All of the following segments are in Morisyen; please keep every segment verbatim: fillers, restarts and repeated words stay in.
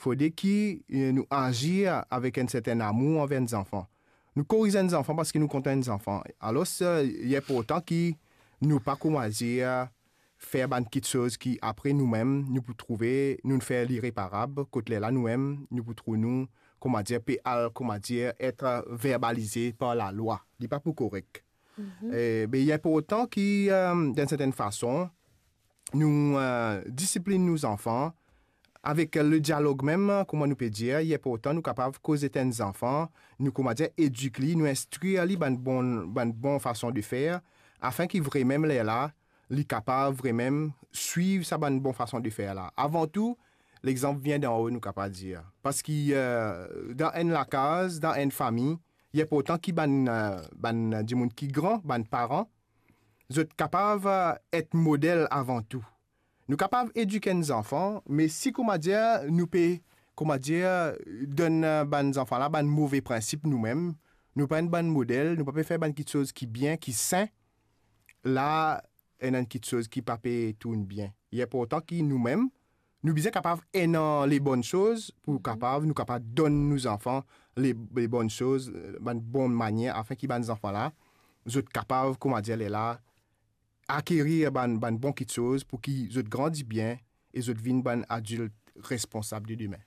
fode ki, eh, nou azir avek enn serten amour anver enn zanfan. Nou koriz enn zanfan parski nou kontan enn zanfan. Alor, eh, li inportan ki nou pa, kouma dir, fer bann kiksoz ki apre noumem, nou pou trouve, nou fer li reparab, kot lerla noumem, nou pou trouv nou, kouma dir, pe al, kouma dir, et verbalize par lalwa. Li pa pou korek. Mhm. Eh, be, li inportan ki, eh, dan enn serten fason, nou, eh, disiplinn nou zanfan, avek, eh, le dialog mem, kouma nou pe dir, li inportan nou kapav koz ek enn zanfan, nou, kouma dir, edik li, nou instrir li bann bon, bann bon fason de fer, afin ki vremem lerla, li kapav vremem swiv sa bann bon fason de fer la. Avan tou, lexanp vinn dan-o, nou kapav dir. Parski, eh, dan enn lakaz, dan enn fami, li inportan ki bann, eh, bann dimoun ki gran, bann paran, zot kapav, eh, et model avan tou. Nou kapav edik enn zanfan, me si, kouma dir, nou pe, kouma dir, donn, eh, bann zanfan la bann move prinsip noumem, nou pa enn bann model, nou pa pe fer bann kiksoz ki bien, ki sin, la, ena enn kiksoz ki pa pe tourn bien. Li inportan ki noumem, nou bizin kapav ena le bonn soz pou, mhm, kapav, nou kapav donn nou zanfan le, le bonn soz, eh, bann bon manier, afin ki bann zanfan la, zot kapav, kouma dir, lerla, akerir bann, bann bon kiksoz pou ki zot grandi bien e zot vinn bann adilt responsab de demin.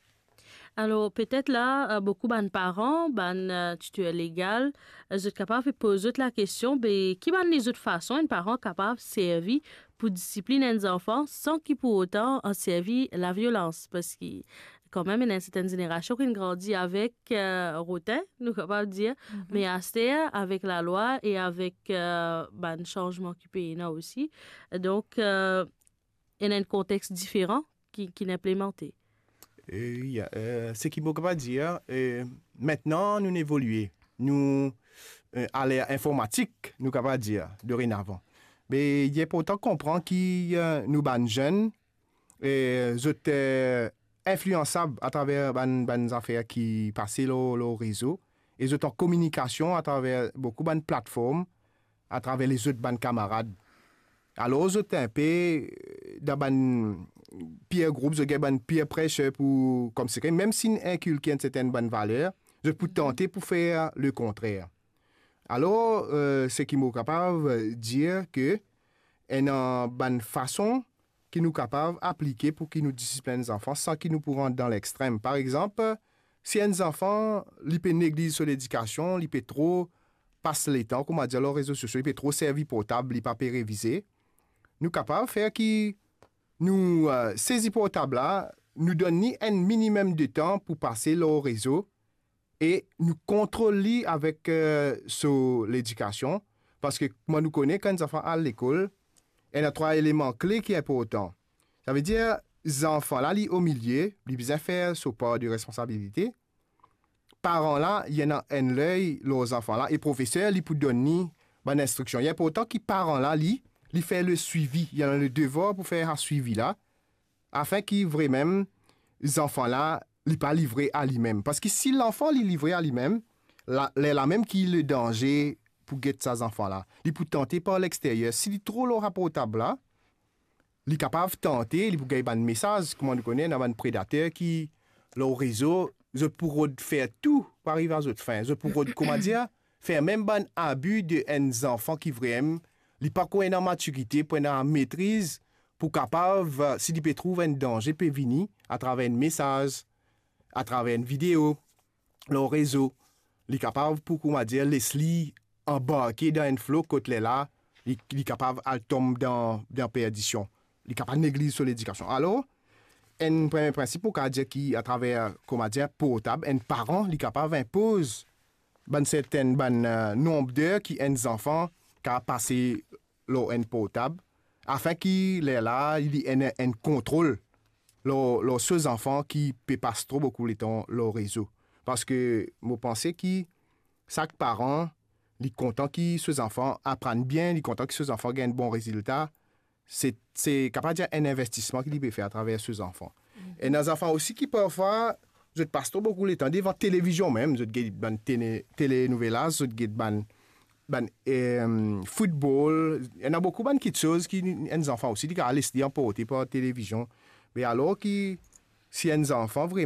Alor, petet la, eh, boukou bann paran, bann, eh, titir legal, eh, zot kapav poz zot lakestion, be, ki bann lezot fason enn paran kapav servi pou disiplinn enn zanfan san ki pou otan, eh, servi laviolans? Parski, kanmem, ena enn sertenn zenerasion ki grandi avek, eh, rotin, nou kapav dir, mhm, me aster, avek lalwa e avek, eh, bann sanzman ki pe ena osi. Donk, eh, ena enn kontex diferan ki, ki inplimante. Eh, wi, eh, seki mo kapav dir, eh, mintnan nou evolie, nou, eh, aler informatik, nou kapav dir, dorenavan. Me li inportan konpran ki, eh, nou bann zenn, eh, zot, eh, infliansab atraver bann, bann zafer ki pase lor, lor rezo, e zot an kominikasion atraver boukou bann platform, atraver lezot bann kamarad. Alor, zot inpe, eh, dan bann peer group, zot gagn bann peer pressure pou, koumsi, mem si inn inkilke enn sertenn bann valer, zot pou tante pou fer le kontrer. Alor, eh, seki mo kapav dir ke ena bann fason ki nou kapav aplike pou ki nou disiplinn zanfan san ki nou pou rant dan lextrem. Par exanp, si enn zanfan, li pe negliz so ledikasion, li pe tro pas letan, kouma dir, lor rezo sosio, li pe tro servi portab, li pa pe revize, nou kapav fer ki nou, eh, sezi portab la, nou donn li enn minimem de tan pou pase lor rezo, e nou kontrol li avek, eh, so ledikasion, parski kouma nou kone, kan enn zanfan al lekol, ena trwa eleman kle ki inportan. Savedir, zanfan la, li omilie, li bizin fer so par de responsabilite. Paran la, li ena enn ley lor zanfan la, e profeser, li pou donn li bann instriksion. Li inportan ki paran la, li, li fer le swivi, li ena le devar pou fer sa swivi la, afin ki vremem zanfan la, li pa livre a limem. Parski si lanfan li livre a limem, la, lerla mem ki le danze pou get sa zanfan la. Li pou tante par lexteryer. Si li tro lor sa portab la, li kapav tante, li pou gagn bann mesaz. Kouma nou kone, ena bann predater ki lor rezo, zot pou rod fer tou pou ariv a zot fin. Zot pou rod, kouma dir, fer mem bann abi de enn zanfan ki vremem, li pako ena matirite, pou ena metriz, pou kapav, si li pe trouv enn danze pe vini, atraver enn mesaz, atraver enn video, lor rezo, li kapav pou, kouma dir, les li anbarke dan enn flo kot lerla, li, li kapav al tom dan, dan perdision. Li kapav negliz so ledikasion. Alor, enn premie prinsip, ou kapav dir ki atraver, kouma dir, portab, enn paran, li kapav inpoz bann sertenn, bann, eh, nonb der ki enn zanfan kapav pase lor enn portab, afin ki lerla, li ena enn kontrol lor, lor so zanfan ki pe pas tro boukou letan lor rezo. Parski mo panse ki sak paran, li kontan ki so zanfan aprann bien, li kontan ki so zanfan gagn bon rezilta, se, se kapav dir enn investisman ki li pe fer atraver so zanfan. Mhm. Ena zanfan osi ki parfwa, zot pas tro boukou letan devan televizion mem, zot get bann tele, telenovelas, zot get bann, bann, eh, football, ena boukou bann kiksoz ki enn zanfan osi, li kapav les li anporte par televizion. Me alor ki, si enn zanfan vremem